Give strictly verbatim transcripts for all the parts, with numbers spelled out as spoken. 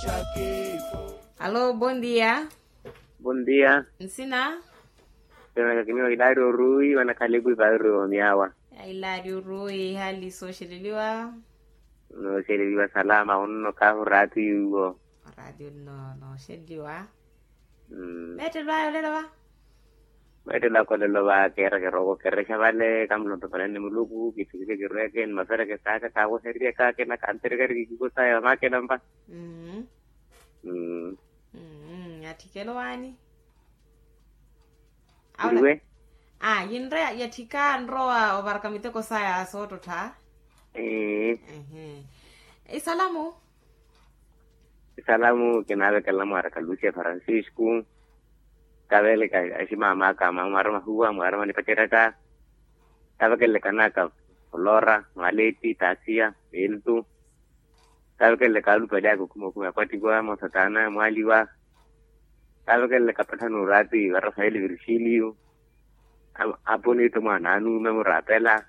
Alo, bon dia. Bon dia. Nsina? Nsina kakiniwa ilaari oruwi wanakhalipu ipaari omiyawa. Ilaari oruwi hali sooxeleliwa. Nooxeleliwa salama onno kahu raatiyo. Oraatiyo nno nooxeleliwa. Meettelo aya olelo va. Meettelo aka olelo va keera kirooko kerexa vale kamulontopelani muluku kithikike kirweke ni mafereke saaka kaawoheriyaka kena kanterikari kikiko saya vamakela mpa. Atthikelo waani? Awe. Yinre yatthika nrowa ovaraka miteko saya soottotha. Isalamu. Isalamu kinaavekelela mwaaraka lucia francisco. Kaveleka aximamaka mwaara mahuwa mwaara manipaceraka. Kavekeleleka naka flora mwaleti tasia peltu. Kavekeleleka alupali aka okhumakhuma akwattiwa mosatana mwaaliwa. Kavekeleleka patthana oraati varasayeli virixiliyo. Aponito mwaana anume muraapela.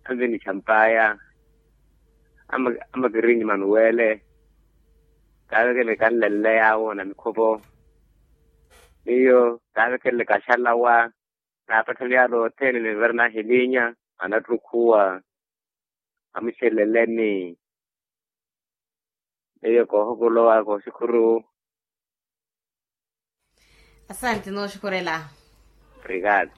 Anveni champaya. Amakirinyi manuwele. Kaavekeleleka nlelele yaawo na mikhopo. Miyo kaavekeleleka axalawa. Naapatthani yaala othene ninvera nahilinya anattukhuwa. Amuxeleleni. Miyo koohokolowa kooxikhuru. Asanti nooxikhurela. Obrigado.